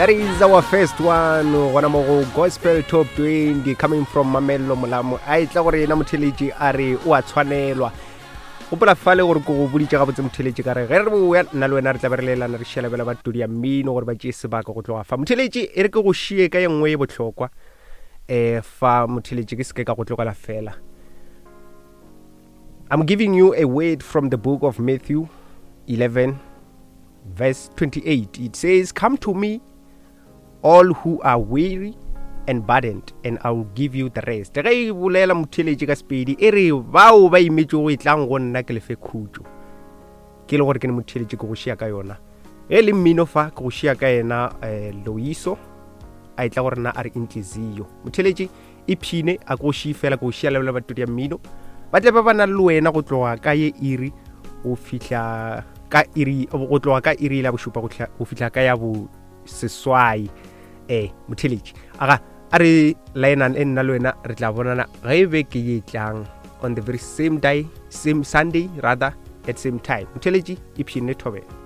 That is our first one gona mo go Gospel Top 20 coming from Mamello Molamo. A etla gore yena motheletši a re o a tshwanelwa. Gopola fale gore ko go boditše gabotse motheletši ka re ge re boya nna le wena re tla be re lelana re šelabela ba todi ya mmino gore ba tšee sebaka go tloga fa. Motheletši e re ke go šie ka ye nngwe ye bohlokwa eh fa motheletši ke seke ka go tlogela fela. I'm giving you a word from the book of Matthew 11 verse 28. It says, Come to me, all who are weary and burdened, and I will give you the rest. Ge e bolela motheletše ka sepedi e re bao ba imetšego e tlang go nna ke lefe khutšo. Ke le gore ke ne motheletše ke go šia ka yona. Ge le mmino fa ke go šia ka yena eh, Loiso a etla gore nna a re intliziyo. Motheletše ipshine a ko šie fela ko šia lebela batodi ya mmino ba tle ba ba na le wena go tloga ka ye iri go fihla ka iri go tloga ka iri la bošupa go fihla ka ya bo seswai eh motheletši aga a re laenang e nna le wena re tla bonana ge e be ke ye tlang on the very same day same sunday rather at same time motheletši ipshine thobela.